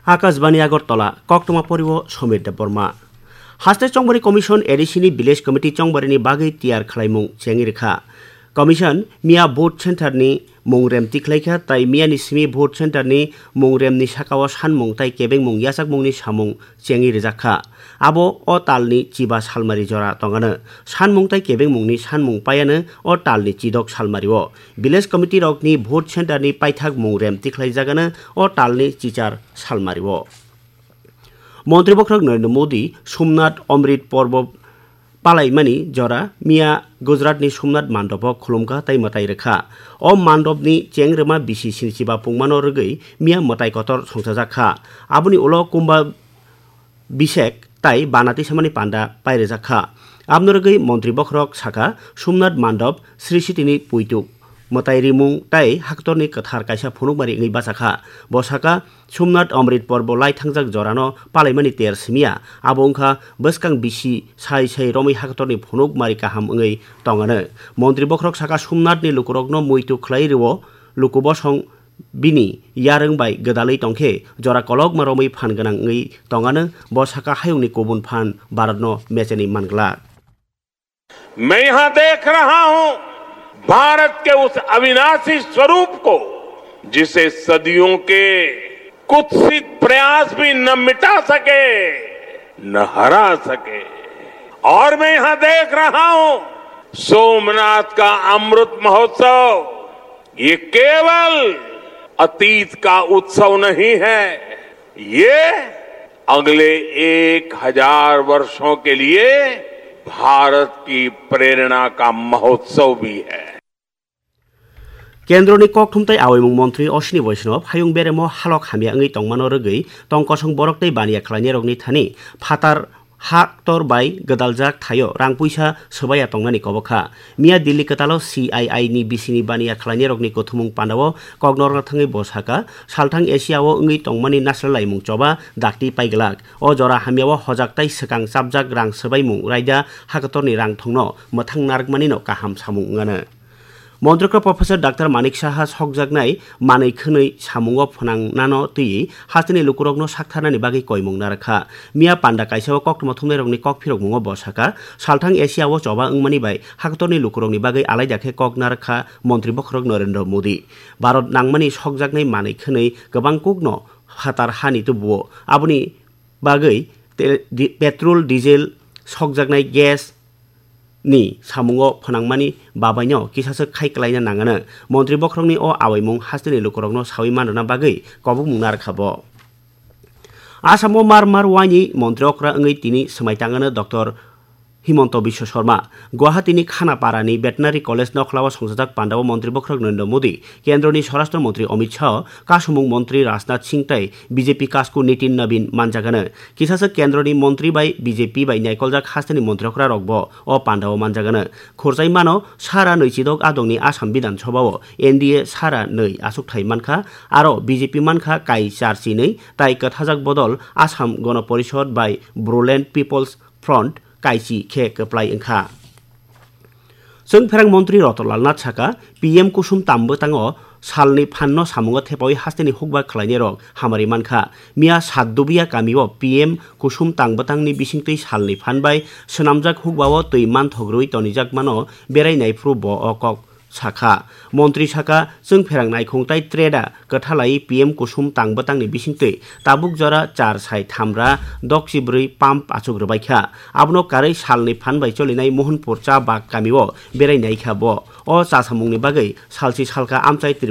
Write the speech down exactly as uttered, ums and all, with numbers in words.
Akashbani Agartala, koktwma poriwo Somir Debbarma. Haste Chongbari Commission A D C ni Village Committee Chongbari ni bagwi tiyar khlaimung chengwi rwkha. Commission miya vote center ni mung rem tikhlaikha, tai miya ni simi vote center ni mung rem ni sakao sanmung tai kebengmung yachakmung ni samung chengwi rwjakha. Abo o tal ni chiba salmari jora tongano. Sanmung tai kebengmung ni sanmung paiano o tal ni chidok salmari o. Village committee rok ni vote center ni paithak mung rem tikhlai jagano o tal ni chichar salmari o. Montri bokhorok Narendra Modi Somnath Amrit Porbo palaimani jora miya Gujarat ni Somnath Mandop o khulumkha tai mwtai rwkha. O mandop ni cheng rwma bisi sinichiba pungmano rwgwi miya mwtai kotor songchajakha. Aboni ulo kumba bisek tai bana tisamani panda pairwjakha. Aboni rwgwi montri bokhorok sakha, Somnath Mandop Sri Sitini puituk mwtai rimung tai haktorni kwthar kaisa phunukmari wngwi bachakha. Bo sakha, Somnath Amrit Porbo lai thangjak jorano palaimani ter simiya, abo wngkha bwskang bisi sai sai romwi haktorni phunukmari kaham wngwi tongano. Montri bokhorok sakha, Somnathni lukurokno muitu khlai rwo, luku bosong bini yarwng bai gwdalwi tongkhe jora kolokma romwi phan gwnang wngwi tongano. Bo sakha, hayungni kubun phan Bharatno mechenwi man glak. मैं यहां देख रहा हूं भारत के उस अविनाशी स्वरूप को, जिसे सदियों के कुत्सित प्रयास भी न मिटा सके, न हरा सके। और मैं यहां देख रहा हूं सोमनाथ का अमृत महोत्सव, ये केवल अतीत का उत्सव नहीं है, ये अगले एक हजार वर्षों के लिए भारत की प्रेरणा का महोत्सव भी है। Kendroni kokthum tai awaimung montri Ashwini Vaishnaw hayung beremo halok hamya wngwi tongmano rwgwi tong kosong borok tei baniya khlainairokni thani phatar haktor bai gwdaljak thaio rang puisa swbaiya tongnani kobokha. Miya Delhi kwtalo C I I ni bisini baniya khlainairokni kuthumung pandao koknorna thangwi bo sakha, salthang Asia o wngwi tongmani nasle laimung choba dakti paiglak. O jora hamyao hojak tai swkang chapjak rang swbaimung raida haktorni rang thongno mwthang narwkmanino kaham samung wngano. Montrikra Professor Doctor Manik Saha sokjaknai manwi khwnwi samungo phwnangnano twiwi hasteni lukurokno saktharnani bagwi koimung narwkha. Miya panda kaisao koktwma thumnairokni kok phirokmungo bo sakha, salthang Asia o choba wngmani bai haktorni lukurokni bagwi alaida khe kok narwkha montri bokhorok Narendra Modi. Bharat nangmani sokjaknai manwi khwnwi kwbang kukno phatar hani tubuo. Aboni bagwi te-, di-, petrol, diesel, sokjaknai gas ni samungo phwnangmani babaino kisaswk khai kwlaina nangano. Montri bokhorokni o awaimung hasteni lukurokno sawi manrwna bagwi kobokmung narwkha bo. Asamo mar mar waini montri okra wngwi tini swmai tangano Doctor Himanta Biswa Sarma. Guwahati ni Khanapara ni Veterinary College nokhlao songchajak pandao montri bokhorok Narendra Modi, Kendroni Swarashtra Montri Amit Shah, Kasumung Montri Rajnath Singh tai B J P kasku Nitin Nabin manjagano. Kisasa Kendroni Montri bai B J P bai naikoljak hasteni montri okra rokbo o pandao manjagano. Khurjai mano sara nwi chidok adongni Assam Bidhan Sabha o N D A sara nwi achukthai mankha, aro B J P mankha kai char chinwi tai kwthajak bodol Assam Gona Porishod bai Boroland People's Front kaichi khe kwplai wngkha. Chwngpherang montri Ratan Lal Nath saka, P M Kusum Tam bwtango salni phanno samungo thepawi hasteni hukba khlainairok hamari mankha. Miya Satdubiya kamio P M Kusum Tam bwtangni bisingtwi salni phan bai swnamjak hukbao twi manthok rwui tonijakmano berai naiphuru bo o kok sakha. Montri saka, chwngpherang naikhung tai treda kwthalai P M Kusum Tam bwtangni bisingtwi tabuk jora char sai thamra dokchi bwrwi pump achuk rwbaikha. Abono karwi salni phan bai cholinai Mohanpur cha bag kamio berai naikha bo. O chasamungni bagwi salsi salka amchai